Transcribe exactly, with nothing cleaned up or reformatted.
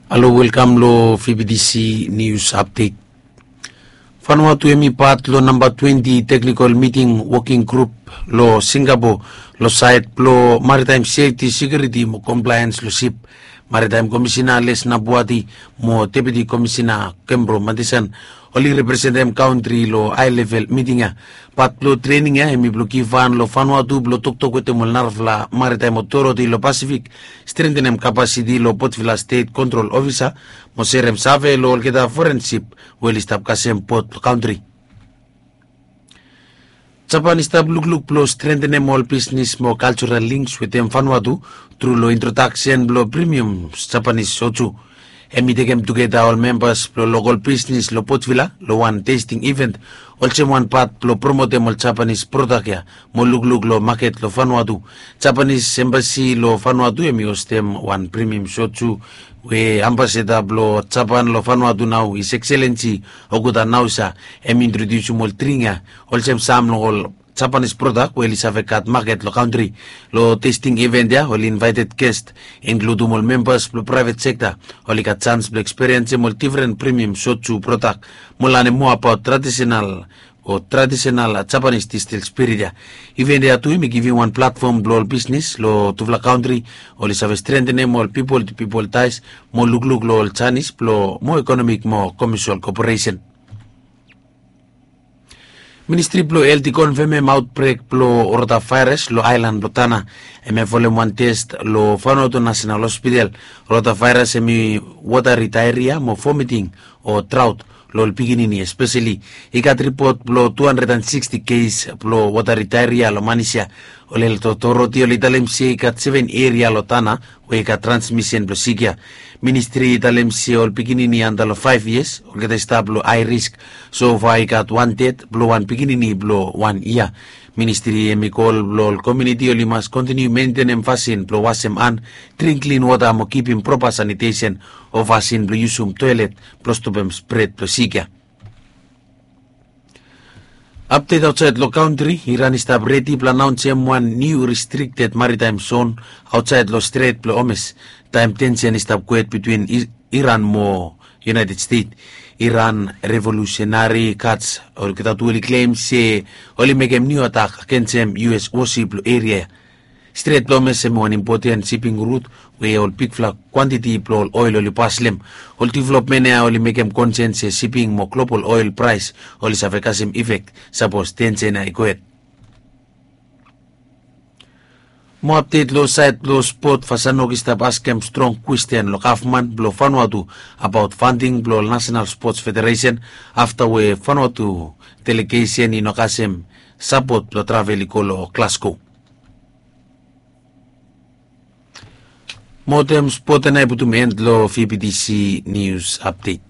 Halo, welkam lo V B T C News Update. Vanuatu hemi pat lo namba twenti teknikol miting woking grup lo Singapore lo saed blo maritaem sefti, sekiuriti mo komplaens lo sip. Maritaem Komisina Les Nabuati mo Deputi Komisina Kembro Matisan oli representem kantri lo hae level miting ya. Pat blo trening ya hemi blo givhan lo Vanuatu blo toktok wetem ol narafala maritaem otoriti lo Pasifik, strentenem kapasiti lo Potvila Stet Kontrol Ofisa mo serem save lo olgeta foren sip we oli stap kasem pot blo kantri. Japan i stap lukluk blo strentenem ol bisnis mo kaljoral lings wetem Vanuatu tru lo introdaksen blo premium Japanis soju. Hemi tekem tugeta ol membas blo lokol bisnis lo Potvila lo wan testing event olsem wan pat blo promotem ol Japanis prodak ya mo lukluk lo maket lo Vanuatu. Japanis embasi lo Vanuatu hemi hostem wan premium soju we ambasada blo Japan lo Vanuatu nao, His Excellency Okuda Naosa, hemi introdiusim ol dring ya olsem sam lo ol Japanis prodak we oli save gat maket lo kantri. Lo testing event ya oli invaeted gest, inkludum ol membas blo praevet sekta, oli gat jans blo ekspiriensem ol difren premium soju prodak mo lanem moa abaot tradisenal o tradisenal Japanis distil spirit ya. Event ya tu hemi givim wan platfom blo ol bisnis lo tufala kantri oli save strentenem ol pipol tu pipol taes mo lukluk lo ol janis blo moa ekonomik mo komesial koperesen. Ministri blo Helt i konfemem aotbrek blo rotavaeras lo aelan blo Tana. Hemia folem wan tes lo Vanuatu Nasenal Hospital. Rotavaeras hemi wotari daeria mo vomiting o draot lo ol pikinini espeseli. I gat ripot blo tu handred an siksti kes blo wotari daeria lo Manis ya. Ol helt otoriti oli talem se i gat seven eria lo Tana we i gat transmisen blo sik ya. Ministri i talem se ol pikinini anda lo faef yias olgeta i stap lo hae risk. Sofa i gat wan ded blo wan pikinini blo wan yia. Ministri hemi kol blo ol komuniti oli mas kontiniu mentenem fasin blo wasem han, dring klin wota mo kipim propa sanitesen o fasin blo yusum toelet blo stopem spred blo sik ya. Apdet aotsaed lo kantri. Iran i stap redi blo anaonsem wan niu restrikted maritaem zon aotsaed lo Stret blo Hormuz taem tensen i stap gwet bitwin Iran mo United States. Iran Revolutionary Guards olgeta tu oli klem se oli mekem niu atak agensem U S wosip lo eria ya. Stret blo Hormuz hemi wan impoten siping rut we ol bigfala kwantiti blo ol oel oli paslem. Ol developmen ya oli mekem konsen se siping mo global oel praes oli save kasem ifek sapos tensen ya i gohed. Mo apdet lo saed blo spot. Vasanok i stap askem strong kwesten lo gavman blo Vanuatu abaot fanding blo ol Nasenal Spots Federesen afta we Vanuatu delegesen i no kasem sapot blo travel i go lo Glasgow. Mo wetem spot ya nao i putum en lo V B T C News Update.